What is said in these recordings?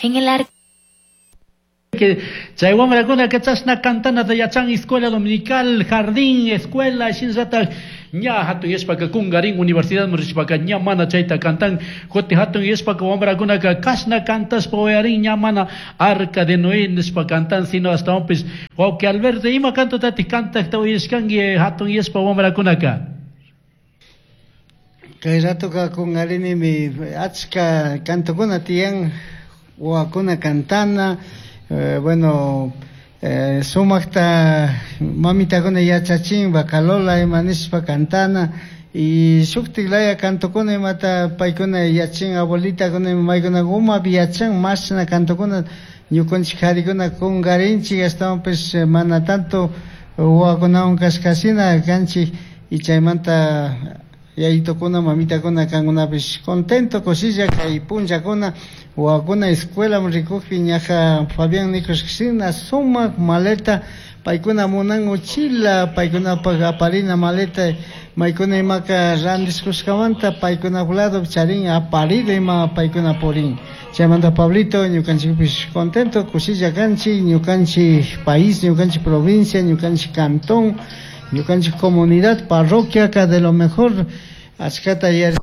En el arca Chay wamrakunaka chashna cantanata yachan escuela dominical, jardín, escuela, shinallatak ña hatun yashpaka kungarin universidadman rishpaka ña mana chayta cantan. Kutin hatun yashpaka wamrakunaka kashna cantashpa uyarin ña mana Arca de Noé nishpa cantan, sino ashtawanpish wawqi Alberto ima cantotatik cantakta uyashkanki hatun yashpa wamrakunaka? Kay ratoka kungarinimi achka cantokuna tiyan, wawakuna cantana, bueno, sumakta mamitakuna yachachin bacalola ima nishpa cantana y shuktik laya cantokuna imata paykuna yachin abuelitakuna ima maykuna umapi yachan mashna cantokuna ñukanchik karikuna kungarinchik ashtawanpish mana tanto wawakunawan kashkashina kanchik y chaymanta yayitukuna mamitakuna kankunapish contento kushilla kay punllakuna wawakuna escuelaman rikukpi ñaja Fabián nikushkashina sumak maleta paykuna munan uchila paykunapak aparina maleta maykuna imaka randishkushkamanta paykunap lado charin aparido ima paykuna purin chaymanta Pablito ñukanchikpish contento kushilla kanchik ñukanchik país ñukanchik provincia ñukanchik cantón ñukanchik comunidad parroquia de lo mejor achkata yar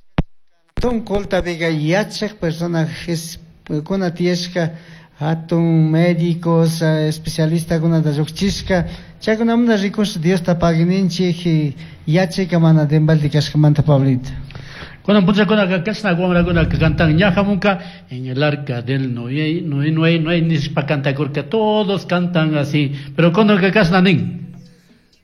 cantón Colta Vega yachak personajes kuna tiyashka hatun médicos especialistakunata llukchishka chaykunamanta rikush Diosta paguininchik yachayka mana denbalde kashkamanta Pablito. Kunan punllakunaka kashna wamrakunaka cantan ña hamunka en el arca del Noé, Noé, Noé, Noé nishpa cantakurka, todos cantan así, pero kunanka kashna nin.